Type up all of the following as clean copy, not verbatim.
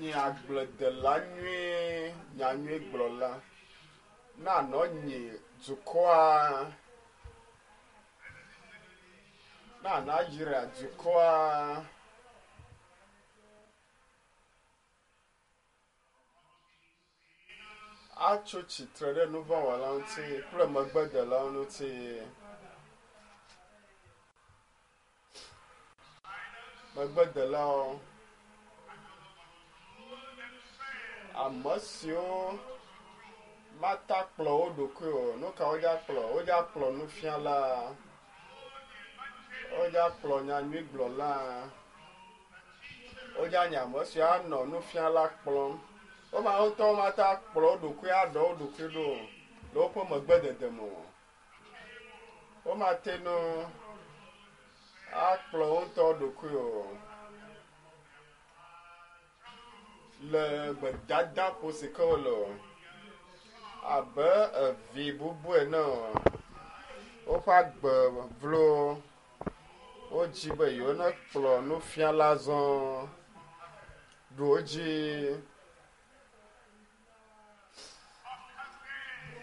Nye agbledela nyuie, nyanyuigblɔla. Na nɔ nyi dukɔa. Na nayra dukɔa. Atso tsitre ɖe nuvɔ̃wɔlawo ŋuti kple megbedelawo ŋuti. Megbedelawo, ame siwo mata kplɔ wo ɖokui o. Nu ka wodza kplɔ? Wodza kplɔ nufiala, wodza kplɔ nyanyuigblɔla, wodza nye ame siwo anɔ nufiala kplɔm. Woma ŋutɔ mata kplɔ wo ɖokui aɖɔ wo ɖokui ɖo o le woƒe megbedede me o. Womate ŋu akplɔ wo ŋutɔ ɖokui o le gbedadaƒo si ke wole o abe evi bubu ene o. Woƒe agbe vlo. Wodzi be yewonekplɔ nufiala zɔ ɖu wo dzi.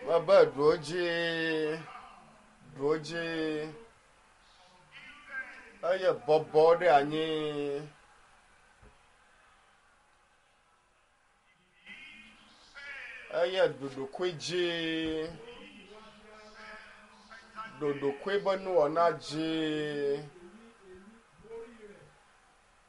Mebe ɖu wo dzi, ɖu wo dzi eye bɔbɔ ɖe anyi. Eye ɖu ɖokui dzi, ɖu ɖokui be nuwɔna dzi.